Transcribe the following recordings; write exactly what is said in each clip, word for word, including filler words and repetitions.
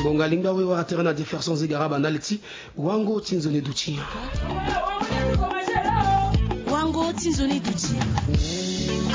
Bonga lingba we wara tere na Jefferson Zegaraba na leti. Wango ti nzoni duti. Wango ti nzoni duti.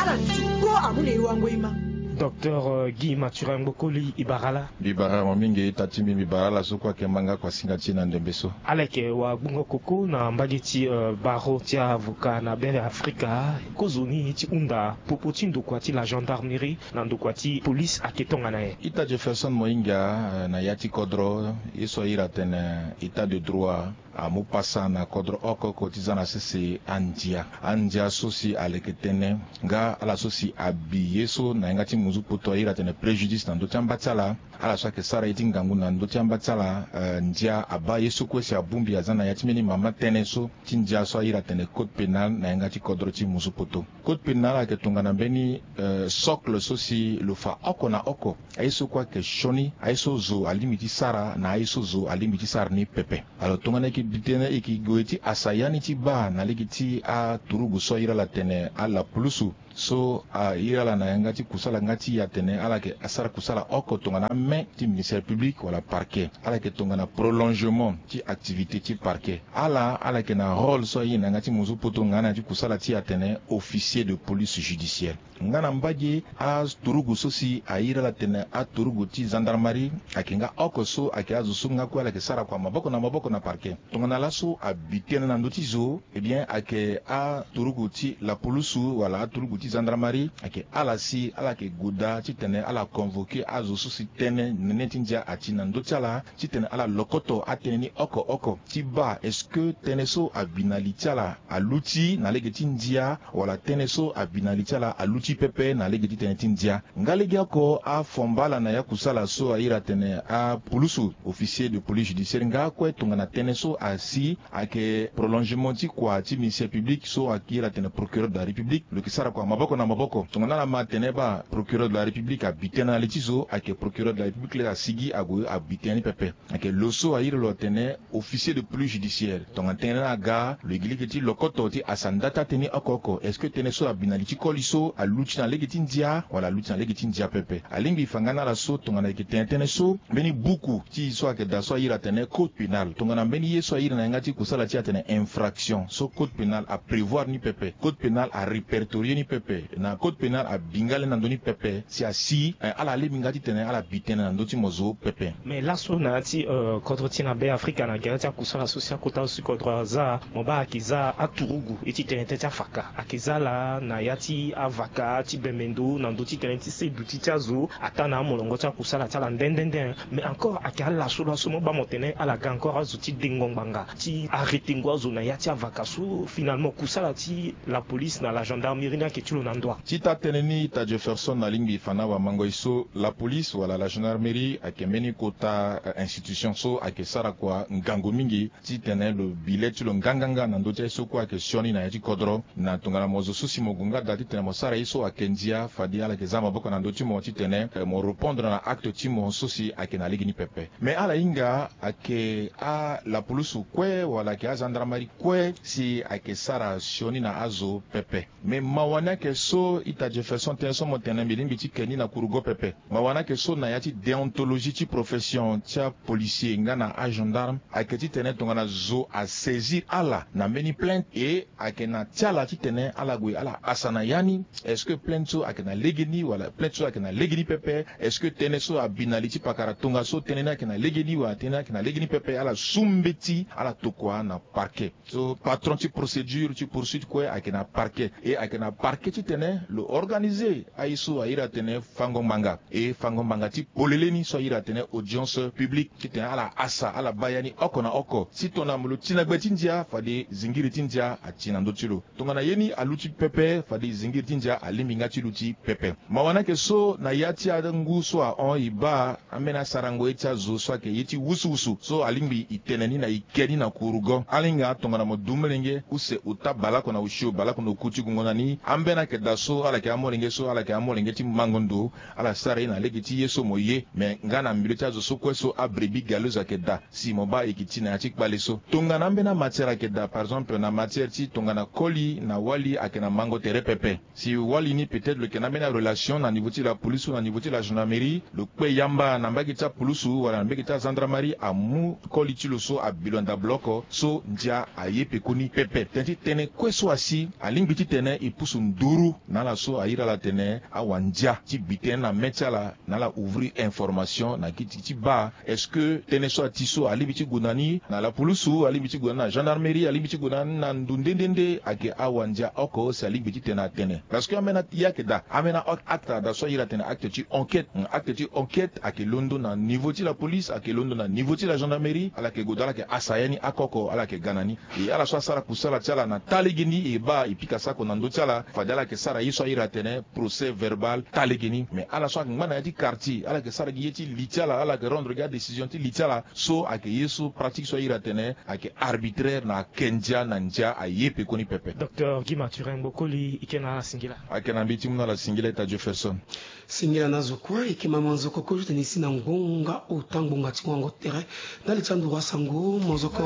Ala duti ko amu na e wango ima. Docteur Guy Mathurin Ngbokoli, e bara ala. Mbi bara mo mingi. Ita ti mbi, mbi bara ala so kue ayeke manga kua singa ti e na ndembe so. Ala yeke wagbongo koko na mbage ti baro ti avocat na be afrika. Kozoni ti hunda popo ti ndokua ti la gendarmerie na ndokua ti police ayeke tongana nyen? Ita Jefferson mo hinga, na ya ti kodro ye so ahiri atene état de droit amu pasa na kodro oko oko ti za na sese andia. Andia so si aleke tënë nga ala so si abi ye so na yanga ti muzu poto ahiri atene préjudice na ndö ti amba ti ala. Ala so ayeke sara ye ti ngangu na ndö ti amba ti ala, ndia abaa ye so kue si abongbi aza na ya ti mbeni mama tënë so ti ndia so ahiri atene code pénal na yanga ti kodro ti muzu poto. Code pénal ayeke tongana mbeni socle so si lo fa oko na oko aye so kue ayeke sioni, aye so zo alingbi ti sara na aye so zo alingbi ti sara ni pepe. Alors tongana e yeke bi tënë, e yeke gue ti hasa ya ni ti baa na lege ti aturugu so ahiri ala tene ala pulusu so ahiri ala na yanga ti kusala nga ti e atene ala yeke asara kusala oko tongana ame ti ministère public wala parquet. Ala yeke tongana prolongement ti activité ti parquet. Ala ala yeke na rôle so aye na yanga ti muzu poto nga na ya ti kusala ti e atene officier de police judiciaire. Nga na mbage aturugu so si ahiri ala tene aturugu ti gendarmerie ayeke nga oko so ayeke azo so nga kue ala yeke sara kua maboko na maboko na parquet. Tongana laso abi tënë na ndö ti zo, eh bien ayeke aturugu ti lapulusu wala aturugu ti gendarmerie ayeke ala si ala yeke goda titene ala convoquer azo so si tënë nene ti ndia ati na ndö ti ala titene ala lokoto atënë ni oko oko ti baa est-ce que tënë so abi na li ti ala aluti na lege ti ndia, wala tënë so abi na li ti ala aluti pepe na lege ti tënë ti ndia. Nga legeoko afomba ala na ya kusala so ahiri atene apulusu, officier de police judiciaire, nga kue tongana tënë so asi ayeke prolongement ti kua ti ministère public so ahiri atene procureur de la république, lo yeke sara kua maboko na maboko. Tongana ala ma atene baa procureur de la république abi tënë na li ti zo, ayeke procureur de la république laa asigi ague abi tënë ni pepe. Ayeke lo so ahiri lo atene officier de police judiciaire, tongana tënë ni aga, lo yeke lege ti lokoto ti hasa nda ti atënë ni oko oko. Est-ce que tënë so abi na li ti koli so aluti na lege ti ndia wala aluti na lege ti ndia pepe? Alingbi e fa nga na ala so tongana e yeke tene tënë so, mbeni buku ti e so ayeke daa so ahiri atene code pénal, tongana mbeni ye so ahiri na yanga ti kusala ti e atene infraction so code pénal aprévoir ni pepe, code pénal arépertorier ni pepe, na code pénal abi nga le na ndö ni pepe, si asi ala lingbi nga titene ala bi tënë na ndö ti mo zo pepe. Mais laso na ya ti kodro ti e na be afrika na gere ti akusala so si akota so si kodro aza, mo baa ayeke za aturugu ye ti tene tënë ti afaka, ayeke za ala na ya ti avaka ti bembe ndo na ndö ti tënë ti se duti ti azo ataa na amolongo ti akusala ti ala nde nde nde. Mais encore ayeke ala so laso mo baa mo tene ala ga encore azo ti dengo ngbanga ti arrêter ngo azo na ya ti avaka so finalement kusala ti la police na la gendarmerie ni ayeke ti lo na ndo wa? Ti taa tënë ni ita Jefferson alingbi e fa na wamango e so la police wala la gendarmerie ayeke mbeni kota institution so ayeke sara kua ngangu mingi titene lo bi le ti lo nganganga na ndö ti aye so kue ayeke sioni na ya ti kodro. Na tongana mo zo so si mo gue nga daa titene mo sara ye so ayeke ndia, fade ala yeke za maboko na ndö ti mo titene mo répondre na acte ti mo so si ayeke na lege ni pepe. Mais ala hinga ayeke alapulusu kue wala ayeke agendarmerie kue si ayeke sara sioni na azo pepe. Mais mawa ni ayeke so ita Jefferson tënë so mo tene mbi lingbi ti ke ni na kurugo pepe. Mawa ni ayeke so na ya ti déontologie ti profession ti apolicier nga na agendarme ayeke titene tongana zo asaisir ala na mbeni plainte e ayeke na ti ala titene ala gue ala hasa na ya ni. Est-ce que plainte so ayeke na lege ni wala plainte so ayeke na lege ni pepe? Est-ce que tënë so abi na li ti pakara tongaso tënë ni ayeke na lege ni wala tënë ni ayeke na lege ni pepe? Ala su mbeti ala tokua na parquet. So patron ti procédure ti poursuite kue ayeke na parquet. E ayeke na parquet titene lo organiser aye so ahiri atene fango ngbanga e fango ngbanga ti polele ni so ahiri atene audience publique titene ala hasa ala baa ya ni oko na oko. Si tongana lo ti na gbe ti ndia fade zingiri ti ndia ati na ndö ti lo. Tongana ye ni aluti pepe fade zingiri ti ndia alingbi nga ti luti pepe. Mawa ni ayeke so na ya ti angu so ahon e baa ambeni asarango ye ti azo so ayeke ye ti wusuwusu so alingbi e tene ni na e ke ni na kurugo. Ala hinga tongana mo du molenge use ota baleoko na osio baleoko na oku ti gongo na ni ambeni Ayeke daa so ala yeke amolenge so ala yeke amolenge ti mango ndo. Ala sara ye na lege ti ye so mo ye. Me nga na milieu ti azo so kue so abrebi galeuse ayeke daa si mo baa e yeke ti na ya ti kpale so. Tongana ambeni amatière ayeke daa par exemple na matière ti tongana koli na wali ayeke na mango tere pepe. Si wali ni peut-être lo yeke na ambeni arelation na niveau ti la police ou na niveau ti la gendarmerie, lo kpe yamba na mbage ti apolice wala na mbage ti agendarmerie amu koli ti lo so abi lo na dabloko so ndia aye pekoni pepe. Tënë ti tënë kue so asi alingbi titene e pusu nduru na ala so airi ala atene awandia ti bi tënë na mê ti ala na ala ouvrir information na gi ti ti baa est-ce que tënë so ati so alingbi ti gue na ni na la police, alingbi ti gue na ni na gendarmerie, alingbi ti gue na ni na ndo nde nde nde ayeke awandia oko si alingbi titene atene. Parce que ambeni ye ayeke daa, ambeni acte ada so airi atene acte ti enquête. Acte ti enquête ayeke londo na niveau ti la police, ayeke londo na niveau ti la gendarmerie. Ala yeke gue daa ala yeke asa ya ni oko oko ala yeke ga na ni. E ala so asara kusala ti ala na taa lege ni e baa e pika sako na ndö ti ala fade ala yeke sara ye so airi atene procès verbal taa lege ni. Me ala so ayeke ngba na ya ti quartier ala yeke sara gi ye ti li ti ala, ala yeke rendre gi adécision ti li ti ala. So ayeke ye so pratique so airi atene ayeke arbitraire na ake ndia na ndia aye pekoni pepe. Docteur Guy Mathurin Mbokoli, e ke na ala singila. Ayeke na mbi ti mu na ala singila ita Jefferson. Singila na azo kue e ke ma manzoko kue titene e si na ngonga ota ngbonga ti wango tere. Ndali ti anduru asango manzoko.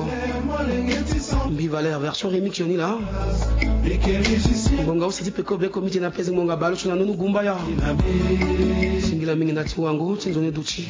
Mbi Valère version remix yo ni laa. Ngonga use ti peko beko mbi tene na pese ngonga baleso na ndonu gumbaya. Singila mingi na ti wango ti nzoni duti.